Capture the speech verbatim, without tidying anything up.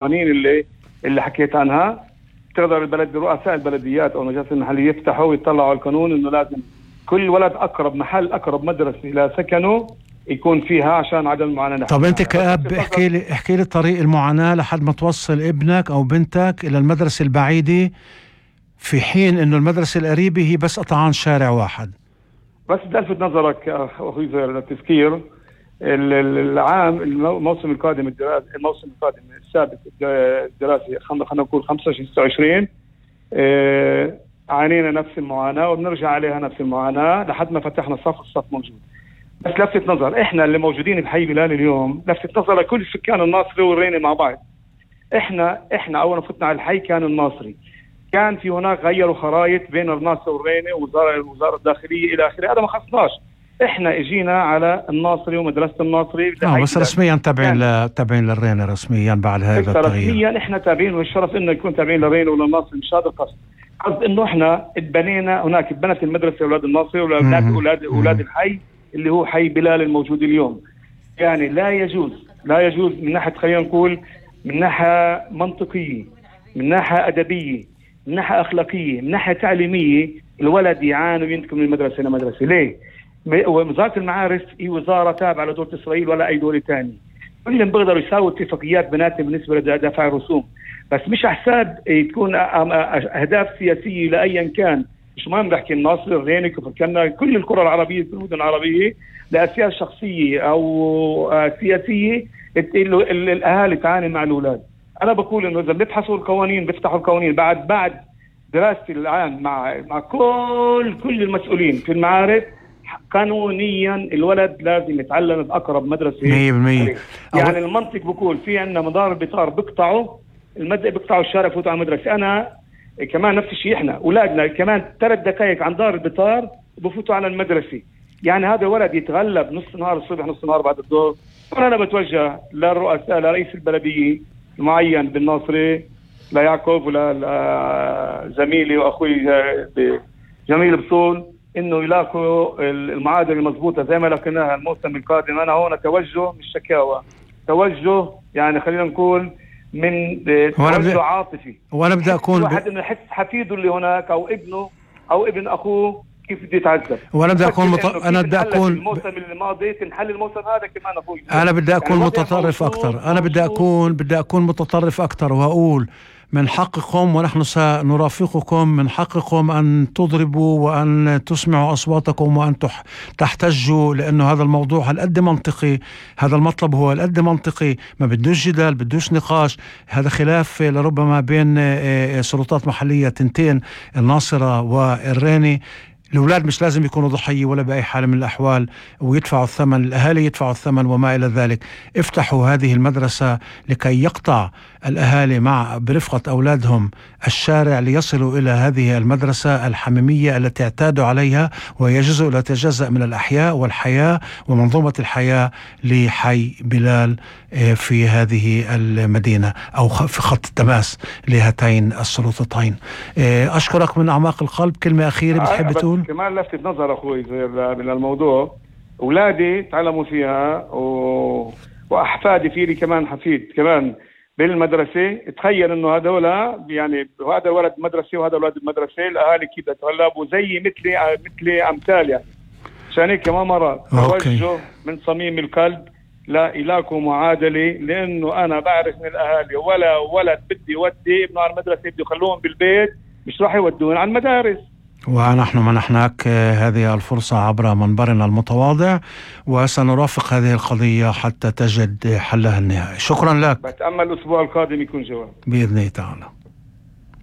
القوانين اللي اللي حكيت عنها. تقدر البلد رؤساء البلديات او المجالس المحليه يفتحوا ويطلعوا على القانون انه لازم كل ولد اقرب محل اقرب مدرسه لسكنه يكون فيها عشان عدم المعاناه. طب انت كأب احكي لي احكي لي طريق المعاناه لحد ما توصل ابنك او بنتك الى المدرسه البعيده، في حين انه المدرسه القريبه هي بس قطعان شارع واحد. بس بدي الفت نظرك اخوي للتذكير العام الموسم القادم الدراسي الموسم القادم السابق الدراسي خلينا نقول خمسة وعشرين ستة وعشرين اه عانينا نفس المعاناه وبنرجع عليها نفس المعاناه لحد ما فتحنا الصف الصف موجود. بس لفت نظر احنا اللي موجودين بحي بلال اليوم، لفت نظر لكل سكان الناصري والريني مع بعض. احنا احنا اول ما فتنا على الحي كان الناصري، كان في هناك غيروا خرائط بين الناصري والريني ووزاره الوزاره الداخليه الى اخره، هذا ما خصناش. احنا اجينا على الناصري ومدرسه الناصري اه بس رسميا تابعين ل... تابعين للريني رسميا بعد هذا التغيير. رسميا احنا تابعين، والشرف انه يكون تابعين للريني ولا الناصري، مش هذا القصد. قصد انه احنا اتبنينا هناك، اتبنت المدرسه اولاد الناصري واولاد اولاد اولاد الحي اللي هو حي بلال الموجود اليوم. يعني لا يجوز لا يجوز من ناحيه خلينا نقول من ناحيه منطقيه، من ناحيه ادبيه، من ناحيه اخلاقيه، من ناحيه تعليميه الولد يعاني وينتقل من المدرسه الى مدرسه. ليه؟ وزاره المعارف هي وزاره تابعه لدوله اسرائيل ولا اي دوله ثانيه. كلهم بيقدروا يساووا اتفاقيات بيناتهم بالنسبه لدفع الرسوم، بس مش على حساب تكون اهداف سياسيه لايا كان. مش مهم بحكي الناصر الريني كفر كنا كل القرى العربيه كل المدن العربيه لاسياس شخصيه او سياسيه الاهالي تعاني مع الاولاد. انا بقول انه اذا بيبحثوا القوانين بيفتحوا القوانين بعد بعد دراستي الان مع مع كل كل المسؤولين في المعارف، قانونيا الولد لازم يتعلم باقرب مدرسه مية بالمية. يعني المنطق بقول في عندنا مدار البطار بيقطعوا المد بيقطعوا الشارع يفوتوا على المدرسه. انا كمان نفس الشيء، احنا اولادنا كمان ثلاث دقائق عن دار البطار بفوتوا على المدرسه. يعني هذا الولد يتغلب نص نهار الصبح نص نهار بعد الظهر. انا بتوجه للرؤساء لرئيس البلديه المعين بالناصري ليعقوب ولا زميلي واخوي جميل بصول انه يلاقوا المعادله المضبوطه زي ما لقيناها الموسم القادم. انا هون توجه مش شكاوى، توجه يعني خلينا نقول من توجه عاطفي. وانا بدي اكون واحد انه يحس حفيده اللي هناك او ابنه او ابن اخوه كيف بده يتعذب. وانا بدي اكون مط... انا بدي اكون الموسم الماضي تنحل الموسم هذا كمان اخوي. انا بدي اكون يعني متطرف اكثر، انا بدي اكون بدي اكون متطرف اكثر واقول من حقكم ونحن سنرافقكم، من حقكم أن تضربوا وأن تسمعوا أصواتكم وأن تحتجوا، لأنه هذا الموضوع هالقد منطقي، هذا المطلب هو هالقد منطقي، ما بدوش جدال بدوش نقاش. هذا خلاف لربما بين سلطات محلية تنتين الناصرة والريني. الأولاد مش لازم يكونوا ضحية ولا بأي حال من الأحوال ويدفعوا الثمن، الأهالي يدفعوا الثمن وما إلى ذلك. افتحوا هذه المدرسة لكي يقطع الأهالي مع برفقة أولادهم الشارع ليصلوا إلى هذه المدرسة الحميمية التي اعتادوا عليها، وهي جزء لا يتجزأ من الأحياء والحياة ومنظومة الحياة لحي بلال في هذه المدينة أو في خط التماس لهاتين السلطتين. أشكرك من أعماق القلب. كلمة أخيرة بتحب تقول؟ كمان لفتت نظر أخوي من الموضوع، أولادي تعلموا فيها و... وأحفادي في لي كمان حفيد كمان بالمدرسة. تخيل إنه هذولا يعني هذا ولد مدرسة وهذا ولد المدرسة، الأهالي كيف تتغلبوا زي مثلي مثلي أمثال. يعني عشان هيك كمان مرة توجه من صميم القلب لا إلاكم معادلة، لأنه أنا بعرف من الأهالي ولا ولد بدي يودي ابنه على المدرسة بدي يخلوهم بالبيت مش راح يودون على المدارس. ونحن منحناك هذه الفرصة عبر منبرنا المتواضع وسنرافق هذه القضية حتى تجد حلها النهائي. شكرا لك. بتأمل الأسبوع القادم يكون جواب بإذن الله تعالى.